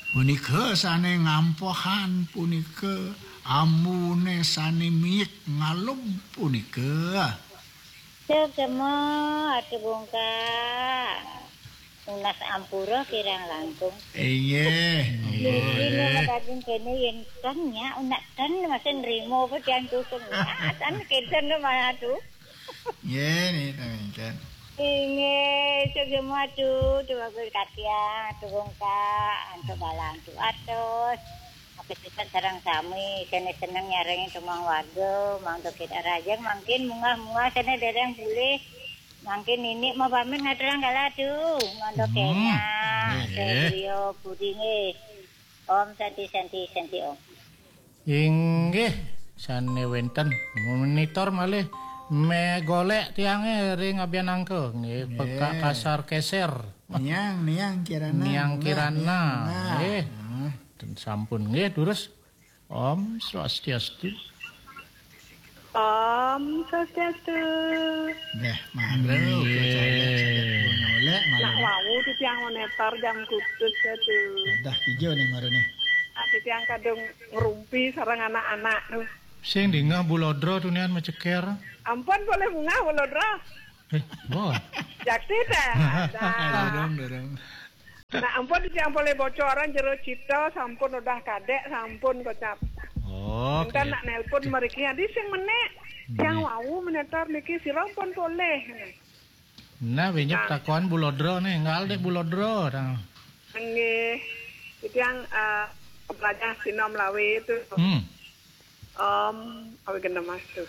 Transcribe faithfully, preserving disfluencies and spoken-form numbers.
Punika sane ngampohan, punika ambune sane miyik ngalum punika. Sugema atu bungkak. Nunas ampura kirang langkung. Inggih. Niki nggih. Daging kene yen ten nya, unak ten masih nrimo apa tiang kusung. Nah, tan kenten no malah tu. Nggih, niki ten. Inggih, sugema atu, tu bagus katiang, tu bungkak, antuk balang tu atus. Apa sifat sareng sami, sene seneng nyarengi tumang warga, mangda kita rajang, mangkin munggah-munggah sene dereng pulih. Mangkin nini mau pamit ngaturang kala tu, mangda Hmm. kena. Nggih. Sedaya puri nggih. Om Santi, Santi, Santi Om. Inggih, sane wenten monitor malih me golek tiange ring abian angka. Nggih, Nggih. Pekak kasar keser. Niang, Niang Kirana. Niang Kirana. Niang. Nggih. Hmm. Ten sampun. Nggih, durus. Om Swastiastu. Om Swastiastu. Nggih, mara Nggih. Uga caleg, caleg pun oleh Nak malu. Wau titiang monitor jam kutus ya tu. Dah tiga nih mara nih. Ah, titiang kadung ngerumpi sareng anak-anak tu. Sing dingeh bulodra tunian maceker. Ampun boleh munggah bulodra. Eh, bo. Jakti teh. Ada. Dorong, dorong. Nah, ampun yang boleh bocoran jero cita sampun udah kadek sampun kocap. Oh, Enten nak nelpon meriki adi sing menek. Yang Nggih. Wau menetar niki sira pun boleh. Nah, winyep Nah. Takon bulodra nih, enggal dek bulodra. Nah. Nggih. Itu yang eh, pelajar sinom lawe itu. Hmm. Om, awi gendemas tu.